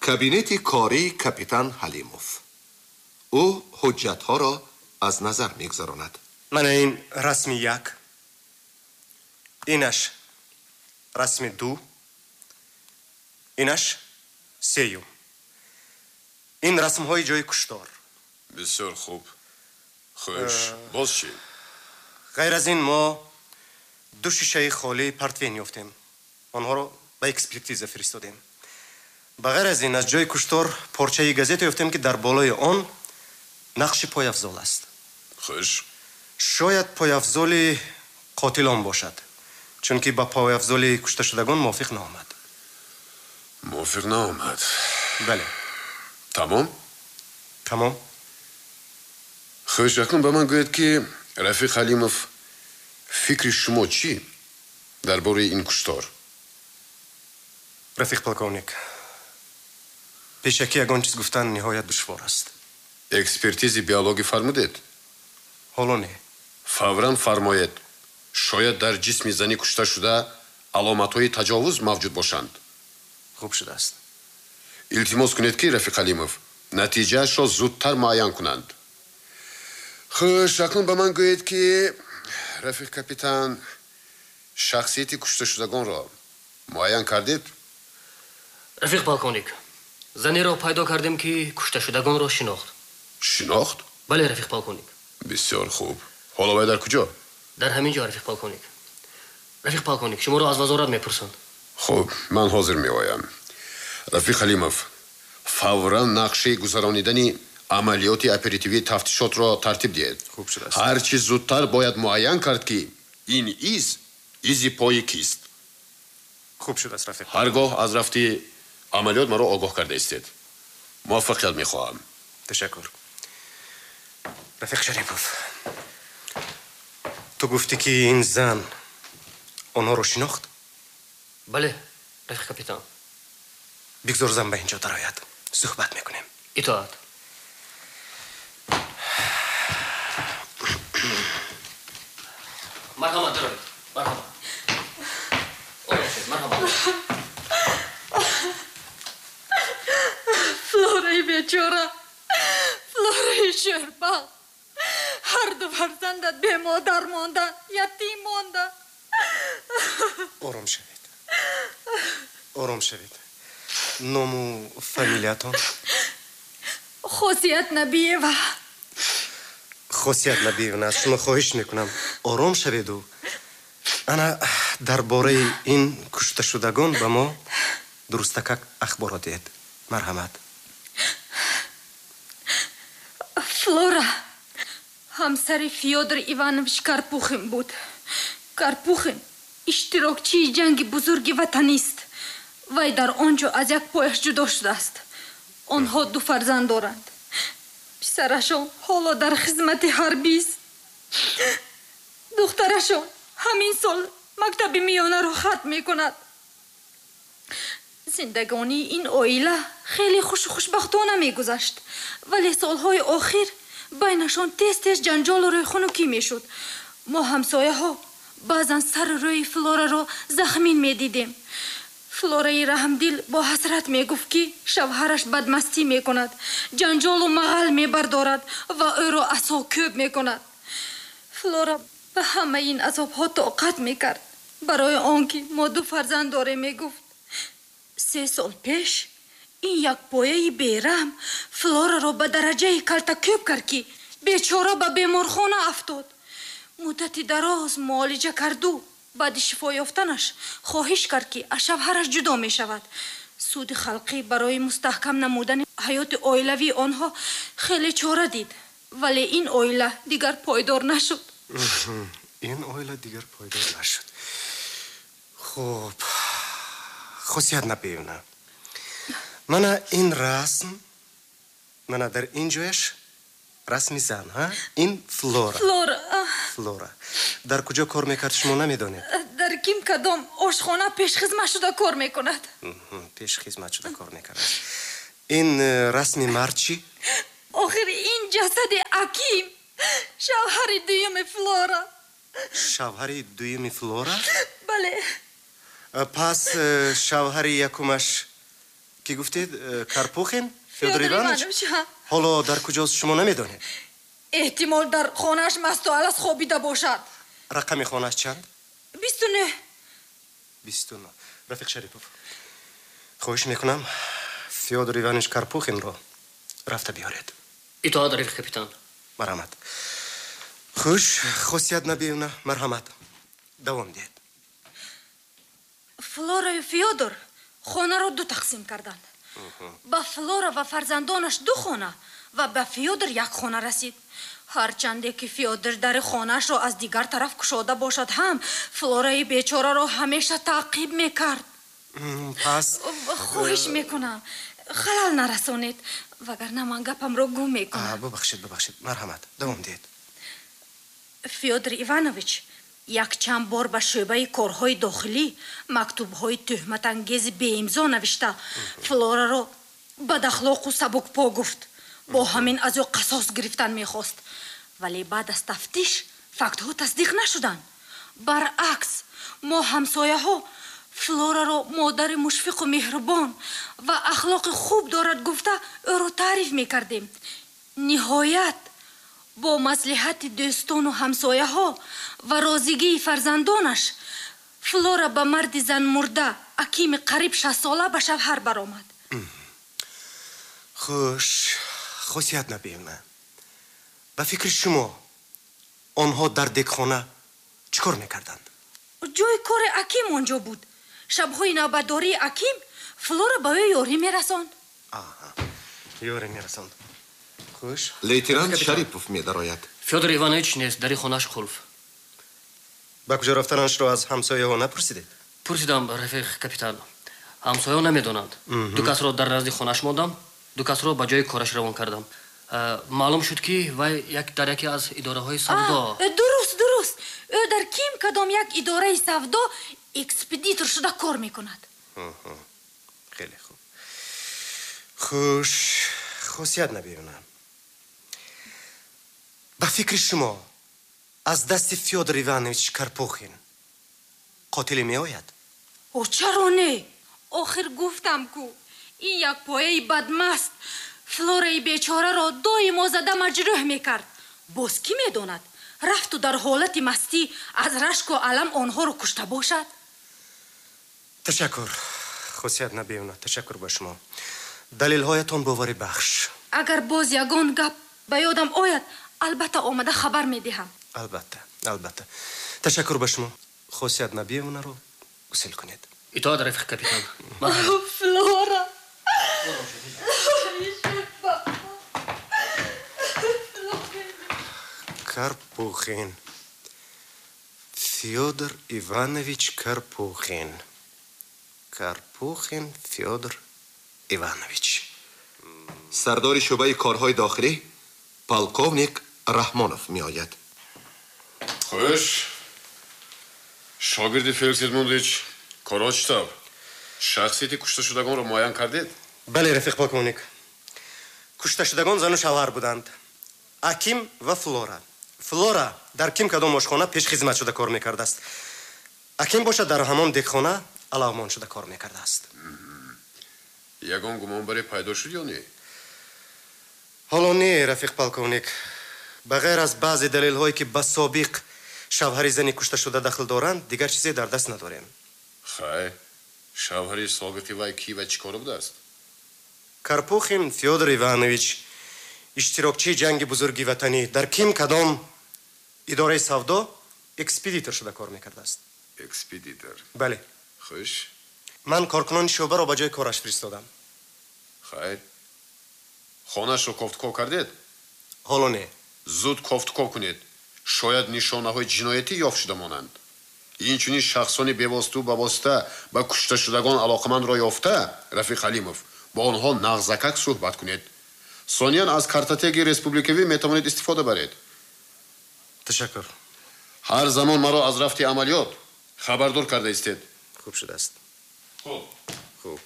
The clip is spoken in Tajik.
Кабинети кории капитан Ҳалимов. Ӯ ҳуҷҷатҳоро аз назар мегузаронад. Мана ин расми як, инаш расми ду, инаш сеюм. Ин расмҳои ҷои куштор. Бисёр хуб. Хуш, боз чӣ? Ғайр аз ин мо ду шишаи холии портвейн ёфтем. Онҳоро ба экспертиза фиристодем. Ба ғайр аз ин аз ҷои куштор порчаи газета ёфтем, ки дар болои он нақши пойафзол аст. Хуш. Шояд пойафзоли қотилон бошад, чунки ба пойафзоли кушташудагон мувофиқ наомад. Мувофиқ наомад. Бале. Тамом? Тамом. Хуш, акнун ба ман гӯед, ки рафиқ Ҳалимов, фикри шумо чӣ дар бораи ин куштор? Рафиқ полковник, пешакӣ ягон чиз гуфтан ниҳоят душвор аст. Экспертизи биологӣ фармудед? Ҳоло не. Фавран фармоед. Шояд дар ҷисми зани кушташуда аломатҳои таҷовуз мавҷуд бошанд. Хуб шудааст. Илтимос кунед, ки рафиқ Ҳалимов, натиҷаашро зудтар муайян кунанд. Хуш, акнун ба ман гӯед, ки рафиқ капитан, шахсияти кушташудагонро муайян кардед? Рафиқ полковник, занеро пайдо кардем, ки кушташудагонро шинохт. Шинохт? Бале, рафиқ полковник. Бисёр хуб. Ҳоло вай дар куҷо? Дар ҳамин ҷо, рафиқ полковник. Рафиқ полковник, шуморо аз вазорат мепурсанд. Хуб, ман ҳозир меоям. Рафиқ Ҳалимов, фавран нақшаи гузаронидани амалиёти оперативии тафтишотро тартиб диҳед. Хуб шудааст. Ҳарчи зудтар бояд муайян кард, ки ин из изи пои кист. Хуб шудааст, рафиқ. Ҳар гоҳ аз рафти амалиёт маро огоҳ карда истед. Муваффақият мехоҳам. Ташаккур. Рафиқ Шарипов, ту гуфтӣ, ки ин зан онҳоро шинохт? Бале, рафиқ капитан. Бигзор зан ба ин ҷо дарояд, суҳбат мекунем. Итоат. Марҳамат, дароед. Марҳамат, ором шед, марҳамат. Флораи бечора, Флораи шербал, ҳарду фарзандат бемодар монданд, ятим монданд. Ором шавед, ором шавед. Ному фамилиятон? Хосият Набиева. Хосият Набиевна, аз шумо хоҳиш мекунам, ором шаведу ана дар бораи ин кушташудагон ба мо дурустакак ахборот диҳед, марҳамат. Флора ҳамсари Фёдор Иванович Карпухин буд. Карпухин иштирокчии ҷанги бузурги ватанист. Вай дар он ҷо аз як пояш ҷудо шудааст. Онҳо ду фарзанд доранд. Писарашон ҳоло дар хизмати ҳарбист, духтарашон ҳамин сол мактаби миёнаро хатм мекунад. Зиндагонии ин оила хеле хушу хушбахтона мегузашт, вале солҳои охир байнашон тез тез ҷанҷолу рӯйхунукӣ мешуд. Мо, ҳамсояҳо, баъзан сару рӯи Флораро захмин медидем. Флораи раҳмдил бо ҳасрат мегуфт, ки шавҳараш бадмастӣ мекунад, ҷанҷолу мағал мебардорад ва ӯро асокӯб мекунад. Флора ба ҳамаи ин азобҳо тоқат мекард, барои он ки мо ду фарзанд дорем, мегуфт. 3 сол пеш ин якпояи бераҳм Флораро ба дараҷаи калтакӯб кард, ки бечора ба беморхона афтод. Муддати дароз муолиҷа карду баъди шифо ёфтанаш хоҳиш кард, ки аз шавҳараш ҷудо мешавад. Суди халқӣ барои мустаҳкам намудани ҳаёти оилавии онҳо хеле чора дид, вале ин оила дигар пойдор нашуд. Ин оила дигар пойдор нашуд. Хуб, Хосият Набиевна, мана ин расм, мана дар ин ҷояш расми зан, ҳа, ин Флора. Флора. Флора дар куҷо кор мекард, шумо намедонед? Дар ким кадом ошхона пешхизмат шуда кор мекунад. Пешхизмат шуда кор мекард. Ин расми мард чӣ? Охир ин ҷасади Аким, шавҳари дуюми Флора. Шавҳари дуюми Флора? Бале. Пас шавҳари якумаш Кӣ гуфтед? Карпухин Фёдор Иванович? Ҳоло дар куҷост шумо намедонед? Эҳтимол дар хонааш масту алас хобида бошад. Рақами хонааш чанд? 29. 29. Рафиқ Шарипов, хоҳиш мекунам Фёдор Иванович Карпухинро рафта биёред. Итоат, рафиқ капитан. Марҳамат. Хуш, Хосият Набиевна, марҳамат. Давом диҳед. Флораю Фёдор хонаро ду тақсим карданд. Ба Флора ва фарзандонаш ду хона ва ба Фёдор як хона расид. Ҳарчанде ки Фёдор дари хонаашро аз дигар тараф кушода бошад ҳам, Флораи бечораро ҳамеша таъқиб мекард. Пас хоҳиш мекунам, халал нарасонед, вагарна ман гапамро гум мекунам. Бубахшед, бубахшед, марҳамат, давом диҳед. Фёдор Иванович якчанд бор ба шӯъбаи корҳои дохилӣ мактубҳои тӯҳматангези беимзо навишта, Флораро бадахлоқу сабукпо гуфт. Бо ҳамин аз ӯ қасос гирифтан мехост. Вале баъд аз тафтиш фактҳо тасдиқ нашуданд. Баръакс, мо ҳамсояҳо Флораро модари мушфиқу меҳрубон ва ахлоқи хуб дорад гуфта ӯро таъриф мекардем. Ниҳоят бо маслиҳати дӯстону ҳамсояҳо ва розигии фарзандонаш Флора ба марди занмурда Акими қариб 60сола ба шавҳар баромад. Хуш, Хосият Набиевна, ба фикри шумо онҳо дар дегхона чӣ кор мекарданд? Ҷои кори Аким он ҷо буд. Шабҳои навбатдории Аким Флора ба ӯ ёрӣ мерасонд. Ёрӣ мерасонд. Хуш. Лейтенант Шарипов медарояд. Фёдор Иванович нест, дари хонааш қулф. Ба куҷо рафтанашро аз ҳамсояҳо напурсидед? Пурсидам, рафиқ капитан. Ҳамсояҳо намедонанд. Ду касро дар назди хонааш мондам, ду касро ба ҷои кораш равон кардам. Маълум шуд, ки вай дар яке аз идораҳои савдо. Дуруст, дуруст. Ӯ дар ким кадом як идораи савдо экспедитор шуда кор мекунад. Хеле хуб. Хуш, Хосият Набиевна, ба фикри шумо аз дасти Фёдор Иванович Карпухин қотиле меояд? О, чаро не? Охир гуфтам ку, ин як пояи бадмаст Флораи бечораро доимо зада маҷрӯҳ мекард. Боз кӣ медонад, рафту дар ҳолати мастӣ аз рашку алам онҳоро кушта бошад? Ташаккур, Хосият Набиевна, ташаккур ба шумо. Далелҳоятон боварибахш. Агар боз ягон гап ба ёдам ояд, албатта омада хабар медиҳам. Албатта, албатта. Ташаккур ба шумо. Хосият Набиевнаро гусел кунед. Итоат, рафиқ капитан. Флора! Карпухин. Фёдор Иванович Карпухин. Карпухин Фёдор Иванович. Сардори шӯъбаи корҳои дохилӣ полковник Раҳмонов меояд. Хуш, шогирди Феликс Эдмундович, корҳо чӣ тавр? Шахсияти кушташудагонро муайян кардед? Бале, рафиқ полковник. Кушташудагон зану шавҳар буданд. Аким ва Флора. Флора дар ким кадом ошхона пешхизмат шуда кор мекардааст. Аким бошад дар ҳамон дегхона алавмон шуда кор мекардааст. Ягон гумонбаре пайдо шуд ё не? Ҳоло не, рафиқ полковник. Ба ғайр аз баъзе далелҳое ки ба собиқ шавҳари зани кушташуда дахл доранд, дигар чизе дар даст надорем. Хай, шавҳари собиқи вай кӣ ва чӣ кор будааст? Карпухин Фёдор Иванович, иштирокчии ҷанги бузурги ватанӣ, дар ким кадом идораи савдо экспедитор шуда кор мекардааст. Экспедитор? Бале. Хуш. Ман коркунони шӯъбаро ба ҷои кораш фиристодам. Хайр. Хонаашро кофтуков кардед? Ҳоло не. Зуд кофтуков кунед. Шояд нишонаҳои ҷиноятӣ ёфт шуда монанд. Инчунин шахсони бевоситу ба восита ба кушташудагон алоқамандро ёфта, рафиқ Ҳалимов, бо онҳо нағзакак суҳбат кунед. Сониян аз картотекаи республикавӣ метавонед истифода баред. Ташаккур. Ҳар замон маро аз рафти амалиёт хабардор карда истед. Хуб шудааст. Хуб. Хуб.